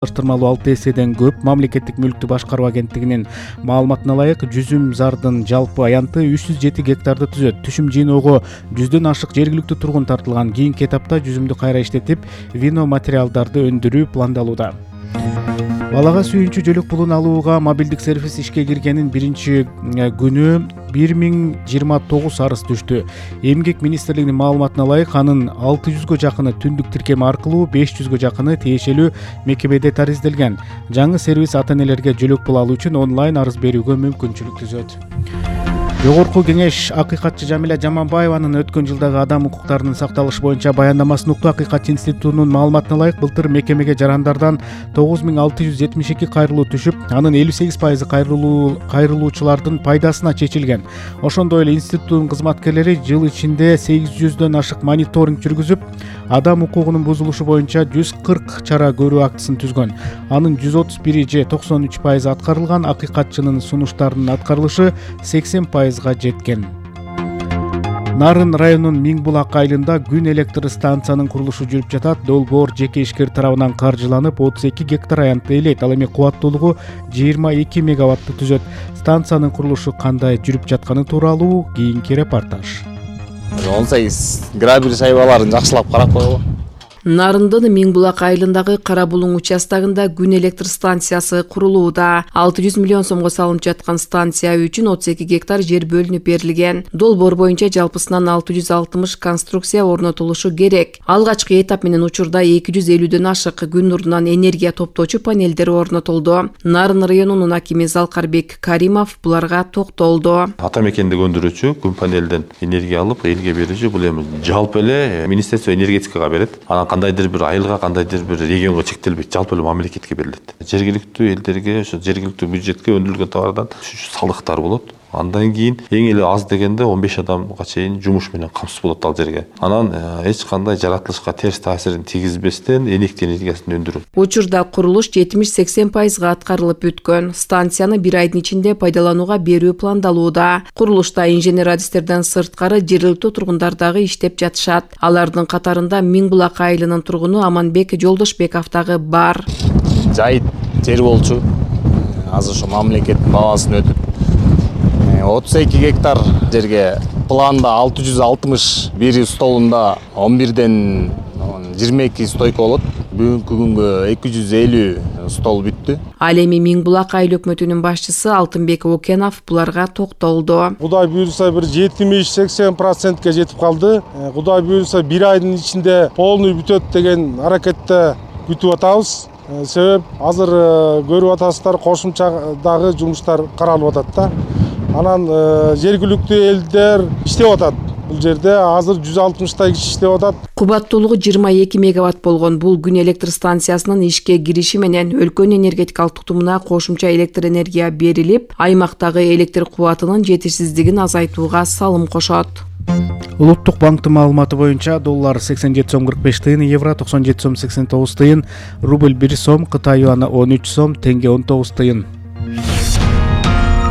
салыштырмалуу 6 эседен көп. Мамлекеттик мүлктү башкаруу агенттигинин маалыматына ылайык, Жүзүм Зардын жалпы аянты 307 гектарды түзөт. Түшүм жыйноого 100дөн ашык жергиликтүү тургун тартылган. Кийинки этапта жүзүмдү кайра иштетип, вино материалдарды өндүрүү пландалууда. Балага сүйүнчү жөлөк пулун алууга мобилдик сервис ишке киргенин биринчи күнү 1029 арыз түштү. Эмгек министрлигинин маалыматына ылайык, анын 600гө жакыны түндүк тиркем аркылуу, 500гө жакыны тиешелүү мекемеде таризделген. Жаңы сервис ата-энелерге жөлөк пул алуу үчүн онлайн арыз берүүгө мүмкүнчүлүк түзөт. Жогорку кеңеш акыйкатчы Жамиля Жаманбаеванын өткөн жылдагы адам укуктарынын сакталышы боюнча баяндамасын укту. Акыйкатчы институтунун маалыматына ылайык, былтыр мекемеге жарандардан 9672 кайрылуу түшүп, анын 58% кайрылуучулардын пайдасына чечилген. Ошондой эле институттун кызматкерлери жыл ичинде 800дөн ашык мониторинг жүргүзүп, адам укугунун бузулушу боюнча 140 чара көрүү актысын түзгөн. Анын 131 же 93% аткарылган. Акыйкатчынын сунуштарынын аткарылышы 80% жеткен. Нарын районунун Миңбулак айылында күн электр станциянын курулушу жүрүп жатат. Долбоор жеке ишкер тарабынан каржыланып, 32 гектар аянтты ээлейт. Ал эми кубаттуулугу 22 мегаватты түзөт. Станциянын курулушу кандай жүрүп жатканы тууралуу кийинки репортаж. 18 градус шайбаларын жакшылап карап койгон. Нарындын Миңбулак айылындагы Кара Булуң участогунда күн электр станциясы курулууда. 600 миллион сомго салынып жаткан станция үчүн 32 гектар жер бөлүнүп берилген. Долбоор боюнча жалпысынан 660 конструкция орнотулушу керек. Алгачкы этап менен учурда 250дөн ашык күн нурунан энергия топтоочу панелдер орнотулду. Нарын районунун акими Залкарбек Каримов буларга токтолду. Ата мекендик өндүрүүчү күн панелден энергия алып элге берүүчү, бул эми жалпы эле Министерство энергетикага берет. Кандайдыр бир айылга, кандайдыр бир регионго чектелбейт, жалпы эле мамлекетке берилет. Жергиликтүү элдерге, ошо жергиликтүү бюджетке өндүрүлгөн товардан салыктар болот. Андан кийин эң эле аз дегенде 15 адамга чейин жумуш менен камсыз болот ал жерге. Анан эч кандай жаратылышка терс таасирин тийгизбестен электр энергиясын өндүрүү. Учурда курулуш 70-80% аткарылып бүткөн. Станцияны бир айдын ичинде пайдаланууга берүү пландалууда. Курулушта инженер-адистерден сырткары жергиликтүү тургундар дагы иштеп жатышат. Алардын катарында Миңбулак айылынын тургуну Аманбек Жолдошбеков дагы бар. Жайыт жер болчу. Азыр ошо мамлекеттин бабасын өтүп 32 гектар жерге планда 661 столунда 11ден 22 стойка болот. Бүгүнкү күнгө 250 стол бүттү. Ал эми Миңбулак айыл өкмөтүнүн башчысы Алтынбек Окенов буларга токтолду. Кудай буйрса бир 70-80%ге жетип калды. Кудай буйрса бир айдын ичинде полный бүтөт деген аракетте күтүп атабыз. Себеп азыр көрүп атасыздар, кошумчадагы жумуштар каралып атат да. Анан жергиликтүү элдер иштеп атат. Бул жерде азыр 160 киши иштеп атат. Кубаттуулугу 22 мегаватт болгон бул күн электр станциясынын ишке кириши менен өлкөнүн энергетикалык тутумуна кошумча электр энергия берилип, аймактагы электр кубатынын жетишсиздигин азайтууга салым кошот. Улуттук банктын маалыматы боюнча доллар 87 сом 45 тыйын, евро 97 сом 89 тыйын, рубль 1 сом, Кытай юаны 13 сом, тенге 19 тыйын.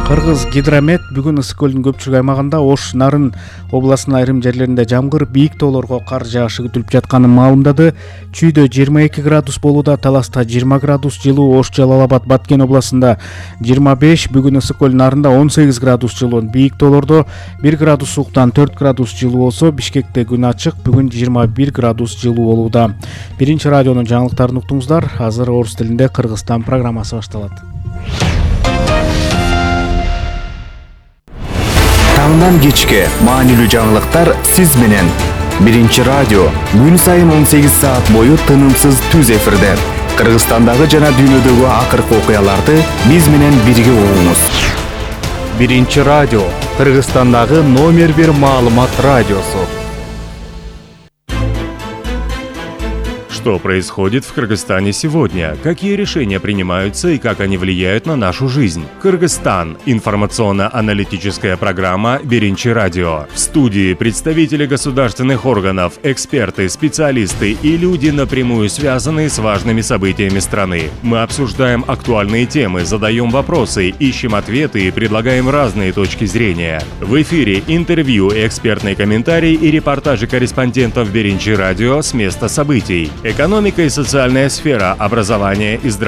Кыргыз гидромет бүгүн Ысык көлүнүн көпчүлүк аймагында Ош, Нарын областынын айрым жерлеринде жамгыр, бийик тоолорго кар жаашы күтүлүп жатканын маалымдады. Чүйдө 22 градус болууда, Таласта 20 градус жылуу, Ош, Жалал Абад, Баткен областында 25, бүгүн Ысык көл нарында 18 градус жылуу, бийик тоолордо 1 градус сууктан 4 градус жылуу болсо, Бишкекте күн ачык, бүгүн 21 градус жылуу болууда. Биринчи радионун жаңылыктарын уктуңуздар. Азыр орус тилинде Кыргызстан программасы башталат. Таңдан кечке маанилүү жаңылыктар сиз менен. Биринчи радио күн сайын 18 саат бою тынымсыз түз эфирде. Кыргызстандагы жана дүйнөдөгү акыркы окуяларды биз менен бирге угуңуз. Биринчи радио Кыргызстандагы номер 1 маалымат радиосу. Что происходит в Кыргызстане сегодня? Какие решения принимаются и как они влияют на нашу жизнь? Кыргызстан. Информационно-аналитическая программа «Биринчи радио». В студии представители государственных органов, эксперты, специалисты и люди, напрямую связанные с важными событиями страны. Мы обсуждаем актуальные темы, задаем вопросы, ищем ответы и предлагаем разные точки зрения. В эфире интервью, экспертные комментарии и репортажи корреспондентов «Биринчи радио» с места событий. Экономика и социальная сфера, образование и здравоохранение.